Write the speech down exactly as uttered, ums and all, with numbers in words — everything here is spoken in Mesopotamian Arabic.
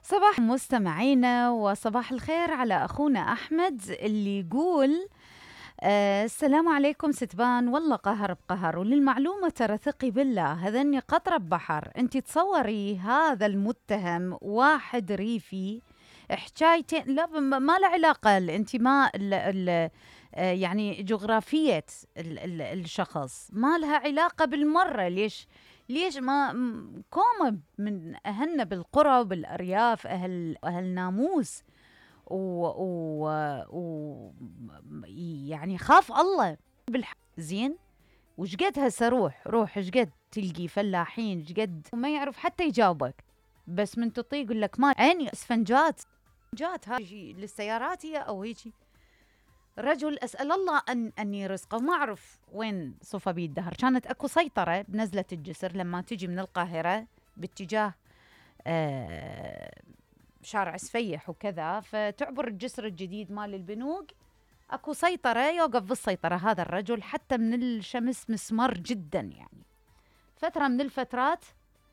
صباح مستمعينا وصباح الخير على أخونا أحمد اللي يقول آه السلام عليكم ستبان، والله قهر بقهر. وللمعلومة ترى ثقي بالله هذني قطرة بحر. انت تصوري هذا المتهم واحد ريفي حكايتين، لا ما له علاقة الانتماء ال ال يعني جغرافية ال ال الشخص ما لها علاقة بالمرة. ليش ليش ما كومة من أهلنا بالقرى وبالأرياف أهل أهل ناموس و, و, و يعني خاف الله بالح... زين. وش قد هسه روح روح ايش قد تلقي فلاحين ايش قد وما يعرف حتى يجاوبك، بس من تطيق يقول لك ما عيني اسفنجات جات هاي للسيارات هي او هيجي. رجل اسال الله ان اني رزقه وما اعرف وين صفى بيه الدهر. كانت اكو سيطره بنزله الجسر لما تجي من القاهره باتجاه آه شارع سفيح وكذا، فتعبر الجسر الجديد مال البنوك. اكو سيطره يوقف بالسيطره هذا الرجل حتى من الشمس مسمر جدا، يعني فتره من الفترات